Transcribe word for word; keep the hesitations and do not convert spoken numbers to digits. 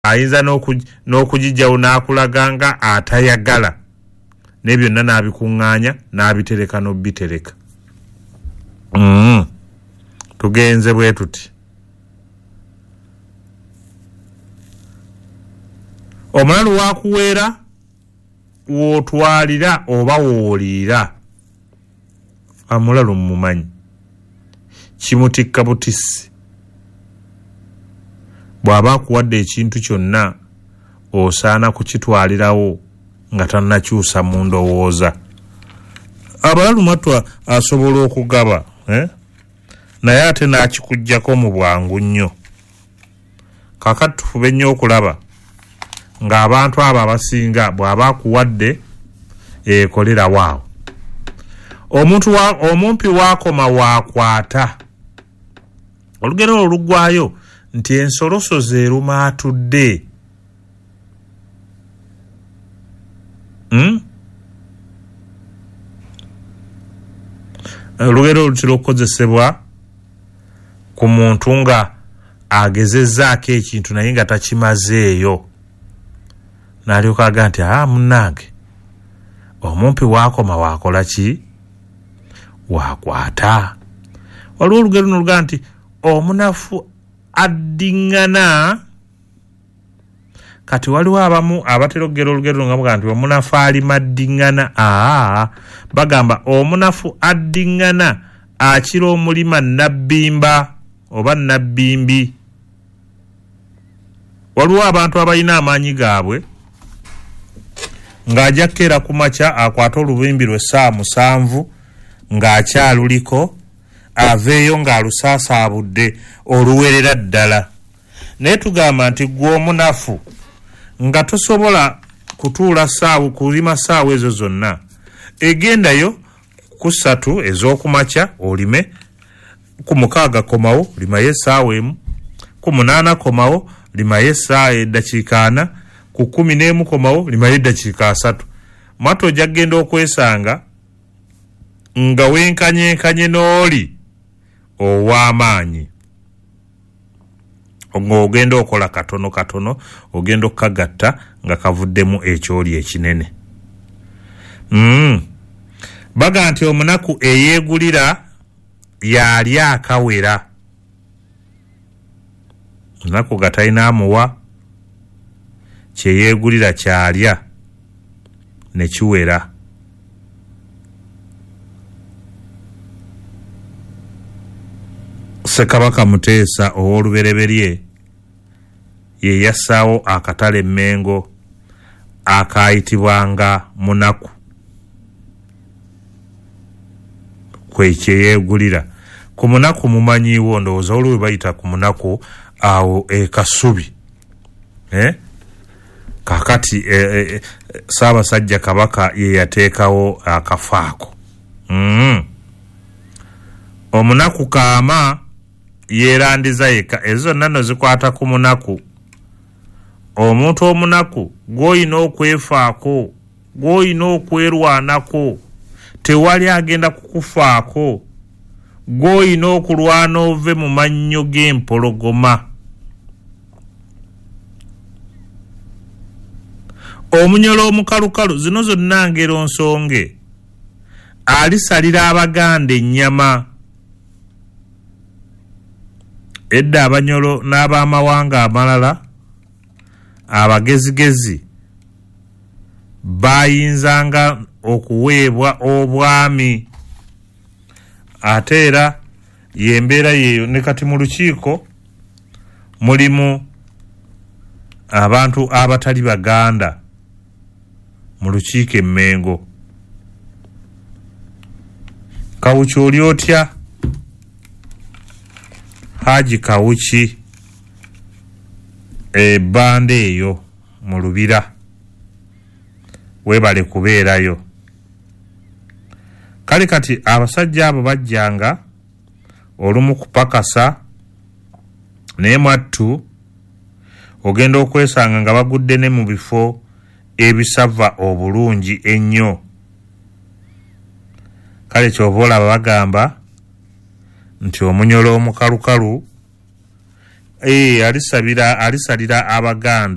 Ayinza n'okugijjawo n'akulaga nga atayagala, ne byonna n'abikuŋŋaanya n'abitereka n'obitereka. Mm. Tugenze bwe tuti. Omulalu wakuweera w'otwalira oba w'oliira. Amulalu mmumanyi, kimutikka butisi. Bw'aba akuwadde ekintu kyonna osaana kukitwalirawo nga tannakyusa mu ndowooza. Abalalu matwa asobola okugaba, eh? Naye ate n'akikuggyako mu bwangu nnyo. Kaakati tufube nnyo okulaba ng'abantu abo abasinga bw'aba akuwadde ekolerawo awo. Omuntu wa, omumpi waakoma waakwata. Olugero olwo luggwayo nti ensoloso z'eruma atudde. Mm? Olugero olutera okukozesebwa ku muntu nga agezezzaako ekintu naye nga takimazeeyo, n'alyoka aga nti aa munnange, omumpi waakoma waakola ki? Waakwata. Waliwo olugero luno olugaa nti omunafu addiŋŋana. Kati waliwo abamu abatera okugera olugero nga bagamba nti omunafu alima addiŋŋana. Aa, bagamba omunafu addiŋŋana akira omulima nabbimba oba nabbimbi. Waliwo abantu abalina amaanyi gaabwe ng'ajja kukeera ku makya akwate olubimbi lwe ssaawa musanvu ng'akyaluliko, aveeyo ng'alusaasaabudde oluwerera ddala. Naye tugamba nti ggwe omunafu nga tosobola kutuula ssaawa kulima ssaawa ezo zonna, egendayo ku ssatu ez'okumakya olime, ku mukaaga komawo limayo essaawa emu, ku munaana komawo limayo essaawa eddakiika ana, ku kkumi n'emu komawo limayo eddakiika asatu. Mwattu ojja kugenda okwesanga nga wenkanyenkanye n'oli ow'amaanyi, ng'ogenda okola katono katono, ogenda okukagatta nga kavuddemu ekyoli ekinene. Mm. Baga nti omunaku eyeegulira y'ali akawera. Omunaku nga talina amuwa, kye yeegulira ky'alya ne kiwera. Ssekabaka Muteesa ow'olubereberye ye yassaawo akatale Mmengo akaayitibwanga Munaku, kwe kye yeegulira. Ku Munaku mumanyiiwo, ndowooza waliwo we bayita ku Munaku awo e Kasubi. Eh? Kaakati e, e, Ssaabasajja Kabaka ye yateekawo akafo ako. Mm. Omunaku kaama yeerandiza yekka. Ezo zonna nno zikwata ku munaku. Omuntu omunaku gw'olina okwefaako, gw'olina okwerwanako, tewali agenda kukufaako, gw'olina okulwana ove mu mannyo g'empologoma. Omunyolo omukalukalu, zino zonna ngero nsonge, alisalira Abaganda ennyama. Edda Abanyolo n'abamawanga amalala abagezigezi bayinzanga okuweebwa obwami. Ate era y'embeera yeeyo ne kati mu lukiiko mulimu abantu abatali Baganda mu lukiiko e Mmengo. Kawuki oli otya? Haji Kawuki ebbanda eyo mu Lubira, weebale kubeerayo. Kale kati abasajja abo bajjanga olumu kupakasa, naye mwattu ogenda okwesanga nga bagudde ne mu bifo ebisava obulungi ennyo. Kale ky'ova olaba bagamba nti omunyolo omukalukalu Eh, alisabira alisalira Abaganda.